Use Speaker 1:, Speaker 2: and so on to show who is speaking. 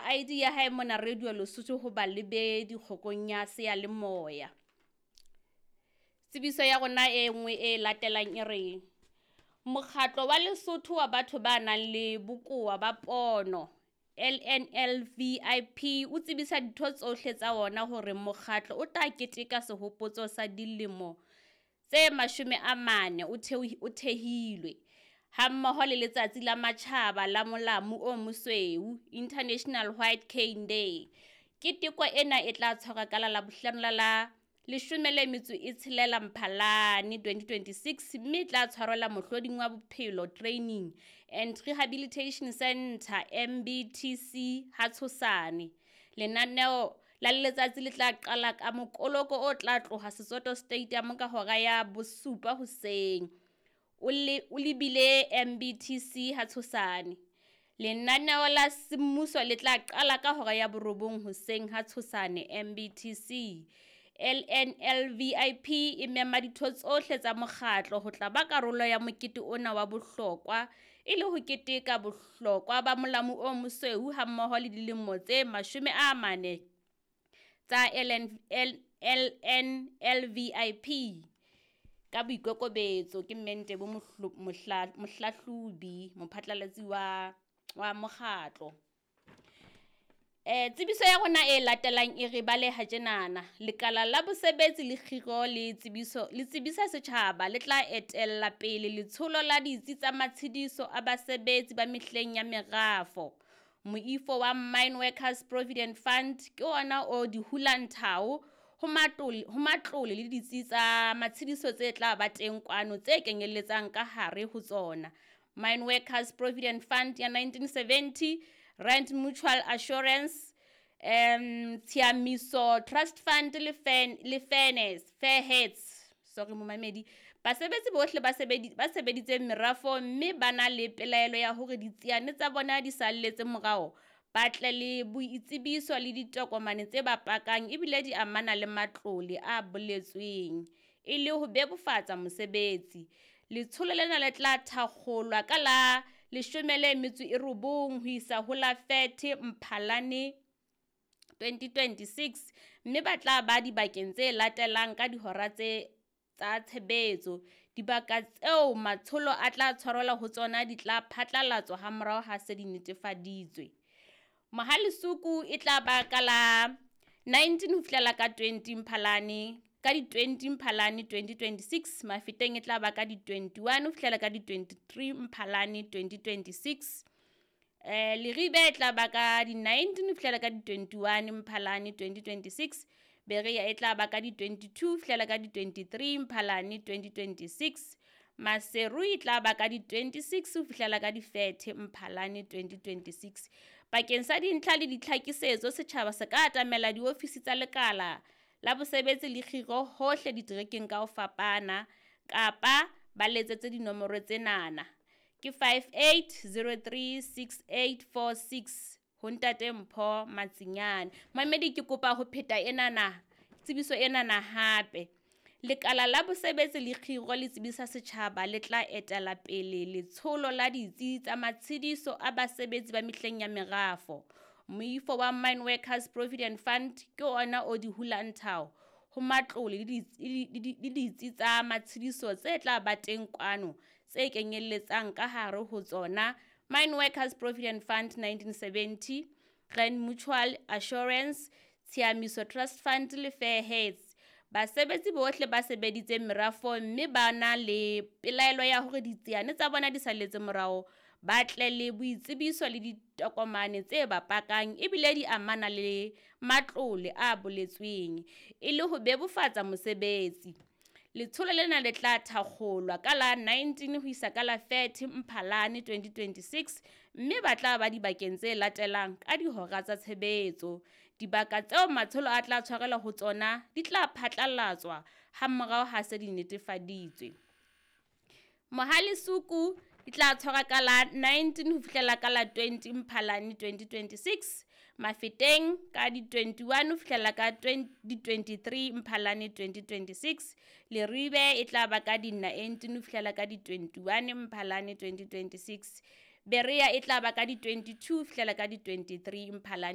Speaker 1: ID ya hae mona Radio Lesotho ho balebedi kgokong ya seyalemoya. Tsebiso ya rona e nngwe e latelang e re Mokgatlo wa Lesotho wa batho ba nang le bokowa ba pono LNLVIP o tsebisa ditho tsohle tsa ona hore mokgatlo o tla keteka sehopotso sa dilemo tse 40 o thehilwe, hammoho le Letsatsi la Matjhaba la Molamu o Mosweu, International White Cane Day. Keteko ena e tla tshwarwa ka la Labohlano la la 16 Mphalane 2026 mme e tla tshwarelwa mohloding wa bophelo Training and Rehabilitation Centre MBTC ha Tshosane. Lenaneo la letsatsi le tla qala ka mokoloko o tla tloha Setsoto Stadium ka hora ya 7 hoseng o lebile MBTC ha Tshosane. Lenaneo la semmuso le tla qala ka hora ya 9 hoseng ha Tshosane MBTC. LNLVIP e mema ditho tsohle tsa mokgatlo ho tla ba karolo ya mokete ona wa bohlokwa e le ho keteka bohlokwa ba molamu o mosweu hammoho le dilemo tse 40 tsa LNLVIP. Ka boikokobetso ke Mme Ntebo Mohlahlobi, mophatlalatsi wa mokgatlo. Tsebiso ya rona e latelang e re baleha tjenana. Lekala la bosebetsi le kgiro le tsebiso le tsebisa setjhaba le tla etella pele letsholo la ditsi tsa matshediso a basebetsi ba mehleng ya merafo. Moifo wa Mine Workers Provident Fund ke ona o di hulang thao ho matlole le ditsi tsa matshediso tse tla ba teng kwano tse kenyelletsang ka hare ho tsona Mine Workers Provident Fund ya 1970, Rand Mutual Assurance, Tshiamiso Trust Fund le Fairness, Fairheads. Sorry momamedi. Basebetsi bohle ba sebeditseng merafo mme ba na le pelaelo ya hore ditsiane tsa bona di salletse morao, ba tle le boitsebiso le ditokomane tse ba pakang ebile di amana le matlole a boletsweng e le ho bebofatsa mosebetsi. Letsholo lena le tla thakgolwa ka la 19 ho isa ho la 30 Mphalane 2026 mme ba tla ba dibakeng tse latelang ka dihora tsa tshebetso. Dibaka tseo matsholo a tla tshwarelwa ho tsona di tla phatlalatswa hamorao ha se di netefaditswe. Mohale's Hoek e tla ba ka la 19 ho fihlela ka 20 Mphalane ka di 20 Mphalane 2026, Mafeteng e tla ba ka di 21 ho fihlela ka di 23 Mphalane 2026. Leribe e tla ba ka di 19 ho fihlela ka di 21 Mphalane 2026. Berea e tla ba ka di 22 ho fihlela ka di 23 Mphalane 2026. Maseru e tla ba ka di 26 ho fihlela ka di 30 Mphalane 2026. Bakeng sa dintlha le ditlhakisetso, setjhaba se ka atamela diofisi tsa lekala la bosebetsi le kgiro hohle diterekeng ka ho fapana, kapa ba letsetse dinomoro tsenana ke 58036846 ho Ntate Mpho Matsinyane. Mamedi, ke kopa ho pheta enana tsebiso enana hape. Lekala la bosebetsi le kgiro le tsebisa setjhaba le tla etela pele letsholo la ditsi tsa matshediso a basebetsi ba mehleng ya merafo. Moifo wa Mine Workers Provident Fund ke ona o di hulang thao ho matlole le ditsi tsa matshediso tse tla ba teng kwano tse kenyelletsang ka hare ho tsona Mine Workers Provident Fund 1970, Rand Mutual Assurance, Tshiamiso Trust Fund le Fairheads. Basebetsi bohle ba sebeditseng merafong mme ba na le pelaelo ya hore ditsiane tsa bona di salletse morao, ba tle le boitsebiso le ditokomane tse ba pakang ebile di amana le matlole a boletsweng e le ho bebofatsa mosebetsi. Letsholo lena le tla thakgolwa ka la 19 ho isa ka la 30 Mphalane 2026 mme ba tla ba dibakeng tse latelang ka dihora tsa tshebetso. Dibaka tseo matsholo a tla tshwarelwa ho tsona di tla phatlalatswa hamorao ha se di netefaditswe. Mohale's Hoek e tla tshwarwa ka la 19 ho fihlela ka la 20 Mphalane 2026, Mafeteng ka di 21 ho fihlela ka di 23 Mphalane 2026, Leribe e tla ba ka di 19 ho fihlela ka di 21 Mphalane 2026, Berea e tla ba ka di 22 ho fihlela ka di 23 Mphalane.